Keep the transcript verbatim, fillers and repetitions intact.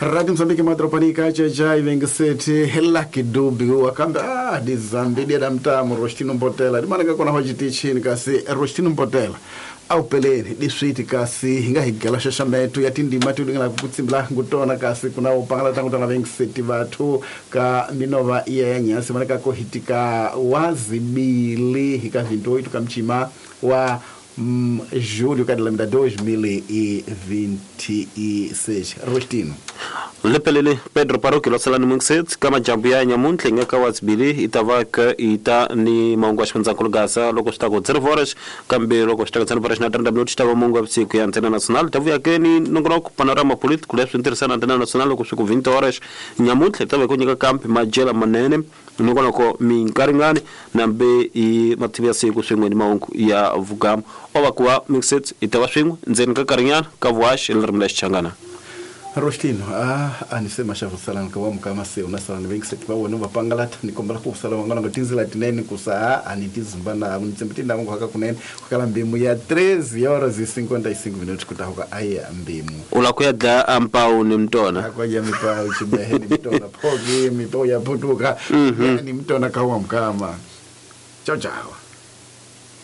Radio Mozambique madropanika chachai vengesete Lucky Dube wakambe ah dizambi da mtamu Rostino Mbotela dimanaka kona hojitichini kasi Rostino Mbotela au peleni diswiti kasi hinga higela shashametu ya tindima tulingana kutsimbla ngutona kasi kuna upangala tangu tana vengesete bathu ka minova yenya simanaka kohitika wazibili hika vinto itu kamchima wa Mm, julho ka de dois mil e vinte e seis. Rostino. Lepelele Pedro Paroki losalani mungset kama jambu ya nyamuntle ngaka wazibili itavaka ita ni maungu ashmanza kulugasa loko shtako zero horas kambe loko shtako zero horas na trinta minutos tava mungu apsiku ya Antena Nacional tavu yake ni nongonoko panorama político leso interessante Antena Nacional loko siku vinte horas nyamuntle tava kunyika kampi majela manene nongonoko minkaringani nambe i matibia siku swingwe ni maungu ya vugamu ovakuwa mixet itawa swingwe nzeni kakarinyana kavuash elrimla changana. Rostino, ah, anisema shavu salani kwa mkama se unasalani wengi seti wa wenu wapangalata nikombala kusala wangana ngatinzila tineni kusaa anitizumbana unitsembetinda mungu haka kunene kukala mbimu ya treze horas e cinquenta e cinco minutos kutahuka aya mbimu ulakuya da ampau ni mtona akoja mipau chibehe ni mtona pogi mipau ya putuka mm -hmm. Ni mtona kawa mkama. Chao chao.